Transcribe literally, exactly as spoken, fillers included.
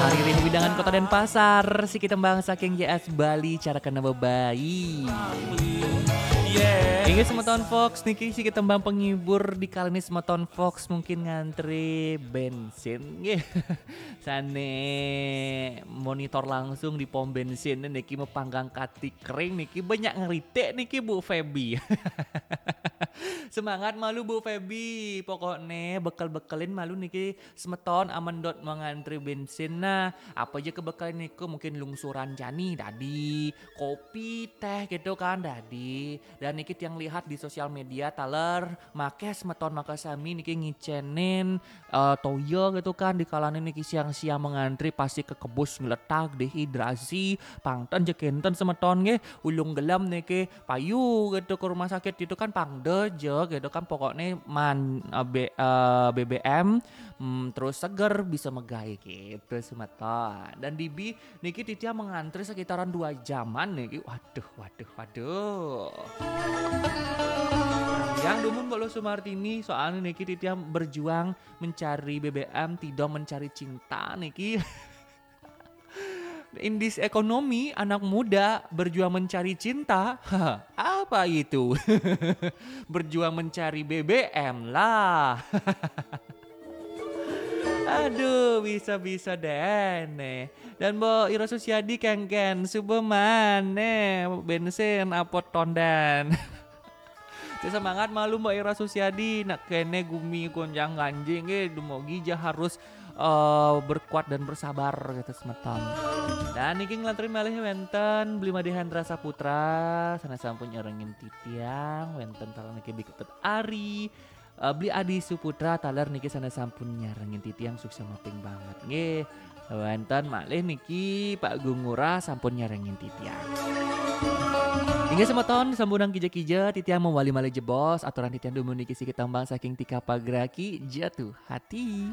Ari ring wewidangan Kota Denpasar, siki tembang saking J S Bali, cara kena bebayi. Inggih semeton Fox niki, siki tembang penghibur, dikala ni semeton Fox mungkin ngantri bensin nggih. Sane monitor langsung di pom bensin niki, mapanggang kati kering niki, banyak ngeritik niki Bu Feby. Semangat malu Bu Feby, pokokne bekel-bekelin malu niki semeton amen dot mengantri bensin. Nah, apa aja kebekelin niku, mungkin lungsuran jani dadi, kopi, teh gitu kan dadi. Dan niki tiang lihat di sosial media taler make semeton makasami niki ngicenin eh, toya gitu kan, dikalane niki siang-siang mengantri pasti kekebus ngletak, dehidrasi, pang ten ja kenten semeton nggih, ulung gelem niki payu gitu ke rumah sakit gitu kan, pang de ja gitu kan, pokokne man eh, B- eh, B B M, mm, terus seger bisa megai gitu semeton. Dan dibi niki titiang mengantri sekitaran dua jaman niki. Waduh, waduh, waduh. Yang dumun Mbok Luh Sumartini, soalnya niki titiang berjuang mencari B B M, tidak mencari cinta niki. Indis ekonomi, anak muda berjuang mencari cinta. Apa itu? Berjuang mencari B B M lah. Aduh, bisa-bisa deh nih. Dan Mbok Ira Susiadi kengken, suba maneh bensin apot tondan. Semangat malu Mbok Ira Susiadi, nak kene gumi gonjang ganjing, eh, dumogi ja harus eh, berkuat dan bersabar gitu semeton. Dan niki ngelanturin malih wenten Beli Made Hendra Saputra, sana sampun nyarengin titiang, wenten taler niki Bli Ketut Ari, eh, Beli Adi Suputra taler niki sana sampun nyarengin titiang, sukses maping banget nggih. Wenten malih niki Pak Gung Ngurah sampun nyarengin titiang. Inggih semeton, sampunang kija-kija titiang mawali malih jebos, aturan titiang dumun niki siki tembang saking Tika Pagraki, Jatuh Hati.